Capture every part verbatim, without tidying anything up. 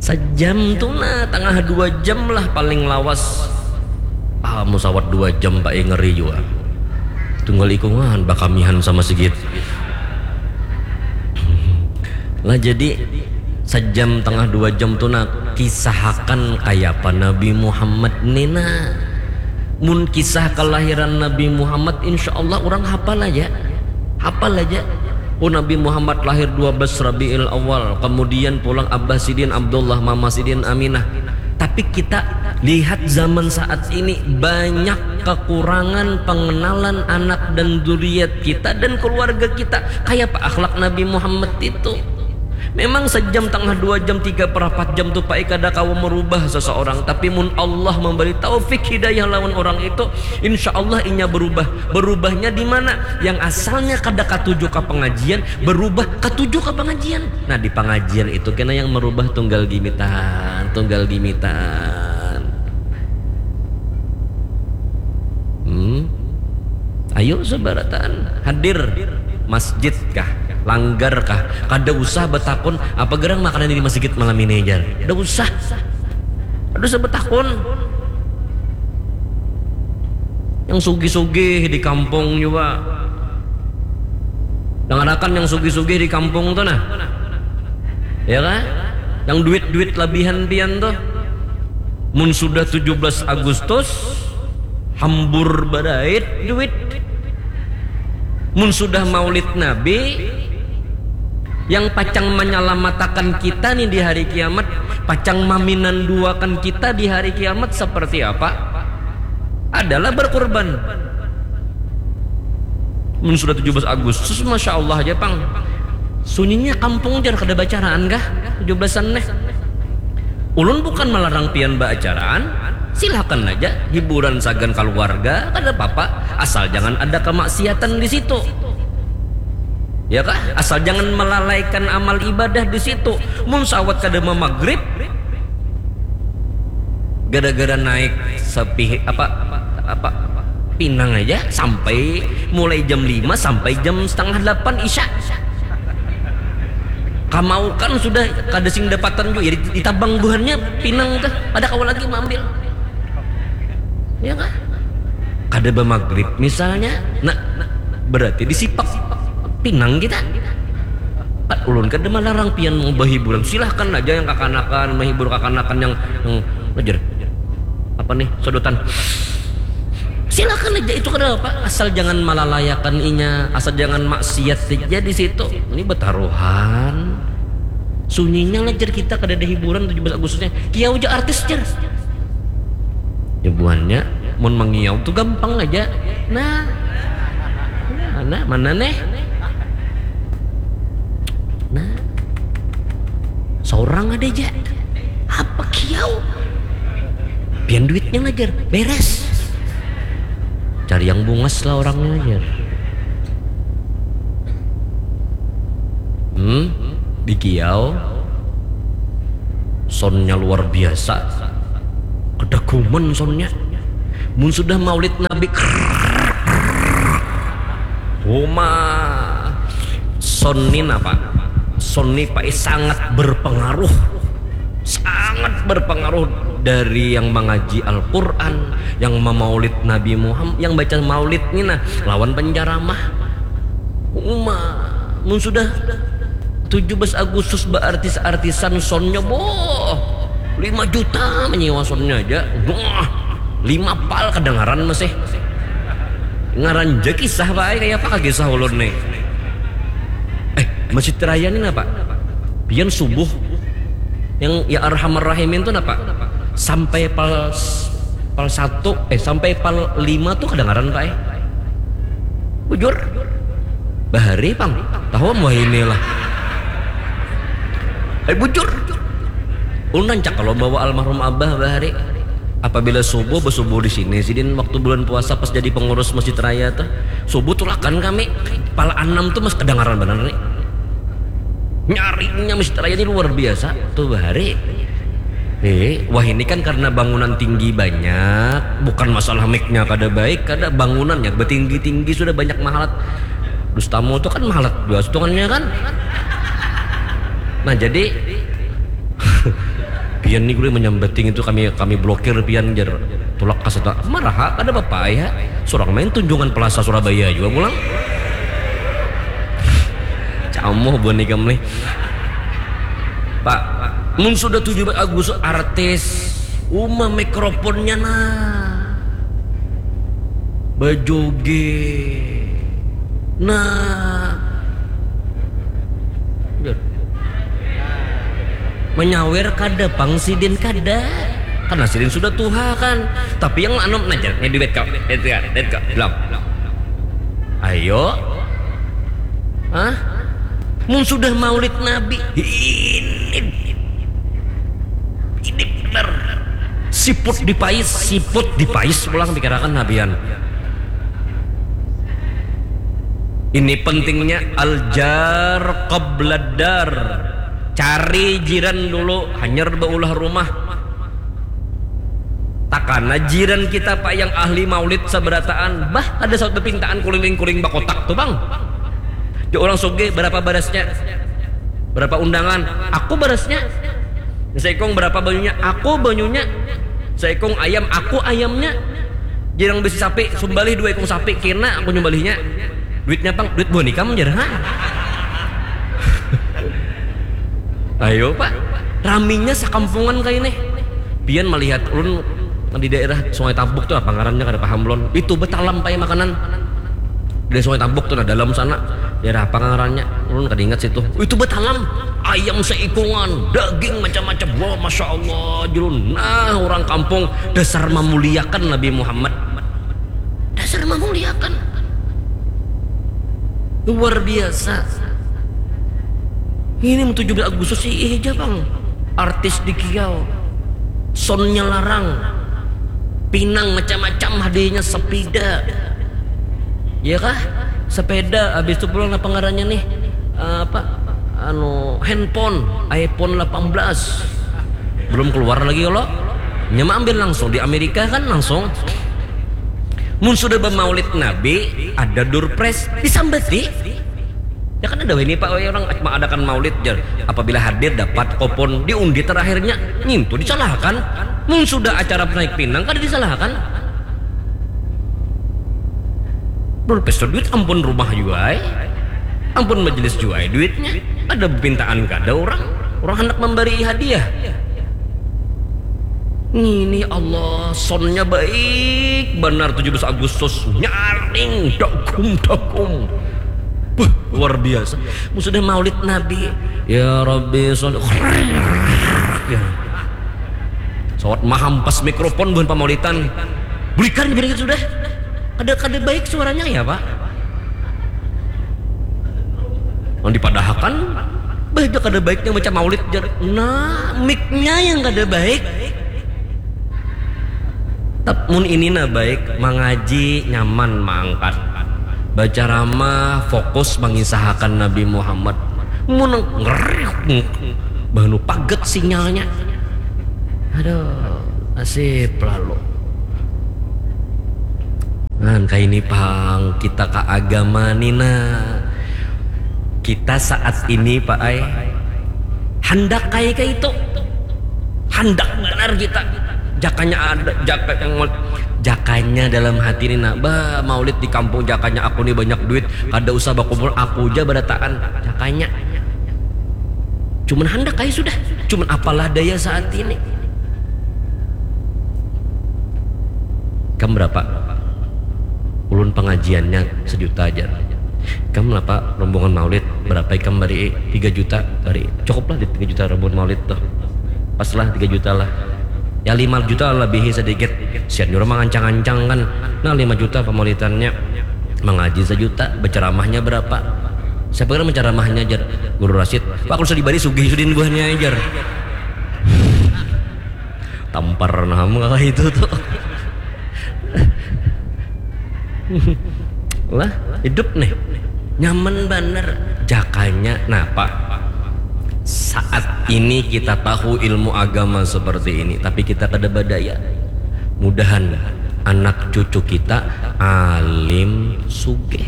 Sajam tu nah, tangah dua jam lah paling lawas. Ah, musawat dua jam, Pak, eh, ngeri jua. Tunggal ikungan bakamihan sama sigit. Lah, jadi sajam tangah dua jam tu nah, kisahakan kayapa Nabi Muhammad ni nah. Mun kisah kelahiran Nabi Muhammad, insya Allah urang hapal aja. Hapal aja. Oh, Nabi Muhammad lahir dua belas Rabiul Awal, kemudian pulang abah sidin Abdullah, mama sidin Aminah. Tapi kita lihat zaman saat ini, banyak kekurangan pengenalan anak dan zuriat kita dan keluarga kita. Kayapa akhlak Nabi Muhammad itu? Memang sajam tangah dua jam, tiga perapat jam tu, Pak, kada kawa merubah seseorang. Tapi mun Allah memberi taufik hidayah lawan orang itu, insya Allah inya berubah. Berubahnya di mana? Yang asalnya kada katuju ka pengajian, berubah katuju ka pengajian. Nah, di pengajian itu kena yang merubah tunggal gimitan, tunggal gimitan. Hmm. Ayo, sabarataan hadir, masjid kah, langgar kah, kada usah betakun apa gerang makanan di masjid malam ini, jar. Kada usah. Kada usah betakun. Yang sugih-sugih di kampung juga. Dangarakan yang sugih-sugih di kampung tu nah. Ya kah? Yang duit-duit labihan pian tu. Mun sudah tujuh belas Agustus, hambur barait duit. Mun sudah Maulid Nabi, yang pacang manyalamatakan kita nih di hari kiamat, pacang maminanduakan kita di hari kiamat seperti apa? Adalah berkurban. Mun sudah tujuh belas Agustus, masya Allah aja, pang. Sunyinya kampung, jar, kada bacaraan kah tujuh belasan neh? Ulun bukan melarang pian baacaraan, silakan aja, hiburan sagan keluarga, kada apa-apa, asal jangan ada kemaksiatan di situ. Ya kah? Asal jangan melalaikan amal ibadah di situ. Mun sawat kada mamagrib, gara-gara naik sepi apa, apa, pinang aja sampai mulai jam lima sampai jam setengah delapan isya. Kamaukan sudah kada sing dapatan juga, ya, ditabang buhannya pinang tuh, ada kawa lagi maambil. Ya kah? Kada bamagrib misalnya, nah, berarti disipak pinang kita. Ulun kada melarang pian mau berhiburan, silahkan aja yang kakanakan menghibur kakanakan yang, yang ngejar apa nih, sodotan. Silahkan aja, itu kada apa, asal jangan malalayakan inya, asal jangan maksiat aja di situ. Ini betaruhan. Sunyinya lah, jar, kita kada ada hiburan tujuh belas Agustusnya. Kiau aja artis, jar. Ya buhannya, mun mangiau tu gampang aja. Nah. Nah, nah, mana neh? Nah. Seorang ada aja. Apa kiau? Pian duitnya ngajar, beres. Cari yang bungas lah orangnya, jar. Hmm, di kiau. Soundnya luar biasa. Kedaguman soundnya. Mun sudah maulid Nabi, Huma. Sound ni napa? Sound ni, Pak, sangat berpengaruh. Sangat berpengaruh dari yang mengaji Al-Quran, yang memaulid Nabi Muhammad, yang baca maulid ni nah, lawan penceramah. Uma, mun sudah tujuh belas Agustus beartis-artisan, soundnya, boh, lima juta menyewa soundnya aja. Wah, lima pal kedengaran masih. Ngaran ja kisah bae, kayak apa kisah ulun nih? Eh, Masjid Raya ini napa? Pian subuh yang ya arhamar rahimin tuh napa? Sampai pal pal satu, eh, sampai pal lima tuh kedengaran, Pak, eh? Bujur. Bahari, pang. Tahu mau inilah. Eh, bujur. Ulun rancak kalau bawa almarhum Abah bahari. Apabila subuh, bersubuh di sini, sidin waktu bulan puasa pas jadi pengurus Masjid Raya tuh. Subuh tulakan kami, pal enam tuh masih kedengaran benar nih. Nyaringnya Masjid Raya ini luar biasa tuh bahari. Eh, wah, ini kan karena bangunan tinggi banyak, bukan masalah mic-nya kada baik, kada, bangunannya betinggi-tinggi sudah banyak mahalat. Dustamu tuh kan mahalat dua setungannya kan. Nah, jadi Pian ni gule menyambating itu kami kami blokir pian jar. Tulak kaseta marah kada apa ya. Surang main tunjungan pelasa Surabaya juga pulang. Camoh buan ikam nih. Pak, mun sudah tujuh belas Agustus artis uma mikrofonnya nah bajoget nah. Menyawer kada pang sidin kada. Karena sidin sudah tuha kan. Tapi yang anu najar nih duit kau. Duit kau. Duit kau. Belum. Ayo. Hah? Mun sudah maulid Nabi ini ini benar. Siput dipais, siput dipais pulang pikirakan Nabian. Ini pentingnya al-jar qabladar. Cari jiran dulu, hanyar baulah rumah. Takana jiran kita pak yang ahli maulid sabarataan, bah ada saut bepintaan kuling-kuling bakotak tu bang. Di orang soge berapa barasnya, berapa undangan, aku barasnya. Seikung berapa banyunya, aku banyunya. Seikung ayam, aku ayamnya. Jirang besi sapi, sumbalih dua ikung sapi, kena aku nyumbalihnya. Duitnya pang, duit buah nikam jar ha. Ayo pak, raminya sakampungan kayak ini. Pian melihat ulun di daerah Sungai Tabuk tuh apa ngarannya kada paham lon. Itu betalam pakai makanan. Dari Sungai Tabuk tuh nah dalam sana. Daerah apa ngarannya? Ulun kada ingat situ. Itu betalam. Ayam seikungan, daging macam-macam. Wah, masya Allah, julun. Nah, orang kampung dasar memuliakan Nabi Muhammad. Dasar memuliakan. Luar biasa. Ini tujuh belas Agustus sih iya aja bang. Artis di kiau, soundnya larang, pinang macam-macam hadiahnya sepeda, ya kah? Sepeda, habis itu pulang apa ngarannya nih? Eh, apa? Anu handphone, iPhone delapan belas belum keluar lagi kalau nyama ambil langsung di Amerika kan langsung. Mun sudah bermaulid Nabi ada durpres disambati. Ya kan ada ini pak orang mengadakan maulid jar. Apabila hadir dapat kopon diundi terakhirnya ngintu disalahkan. Mun sudah acara naik pinang kada disalahkan. Belum pesta duit ampun rumah juga ay. Ampun majelis juga ay duitnya. Ada permintaan kada orang. Orang hendak memberi hadiah. Ini Allah sonnya baik benar tujuh belas Agustus nyaring dagum dagum. Wah, luar biasa. Mun sudah maulid Nabi, ya Rabbi sholli. Ya. Sawat mahampas mikrofon buhan pamaulitan. Bulikan gini sudah. Kada kada baik suaranya ya pak. Yang dipadahakan baik kada baiknya macam maulid jar. Nah, miknya yang kada baik. Tapi mun ini nah baik mengaji nyaman mengangkat baca ramah fokus mengisahakan Nabi Muhammad. Mun ngerih bahnu paget sinyalnya. Aduh, nasib lalu. Nah, kayak ini pang kita ke agama nina. Kita saat ini pak ay hendak kayak kayak itu. Hendak benar kita. Jakanya ada, jaka yang jakanya dalam hati ini nah bah maulid di kampung jakanya aku nih banyak duit kada usah bakumpul aku aja berataan jakanya. Cuman hendak kayak sudah. Cuman apalah daya saat ini. Kam berapa? Ulun pengajiannya sejuta aja. Kam berapa rombongan maulid? Berapa ikam bari tiga juta bari. Cukuplah di tiga juta rombongan maulid tuh. Pas lah tiga juta lah. Ya lima juta lebih sedikit. Sian jurang mengancang-ancang kan. Nah lima juta pemaulidannya. Mengaji sejuta, berceramahnya berapa? Siapa kira menceramahnya ajar? Guru Rasid. Pak kalau dibari sugih sudin buahnya ajar. Tampar nah itu tuh. Lah hidup nih nyaman banar jakanya napa saat ini kita tahu ilmu agama seperti ini tapi kita kada badaya mudahan anak cucu kita alim sugih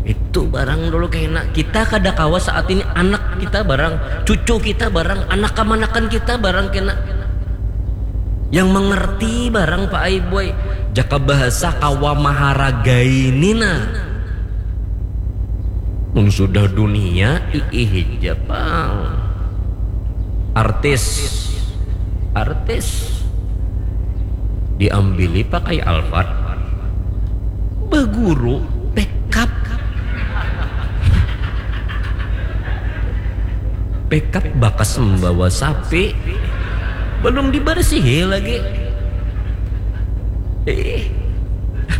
Itu barang dulu kena. Kita kada kawa saat ini anak kita barang, cucu kita barang, anak kamanakan kita barang kena. Yang mengerti barang Pak Aiboy. Jaka bahasa kawa maharagai nina. Mun sudah dunia iih ja pang. Artis, artis diambili pakai Alphard, baguru pekap. Pekap bakas membawa sapi, belum dibersihi lagi. Ih,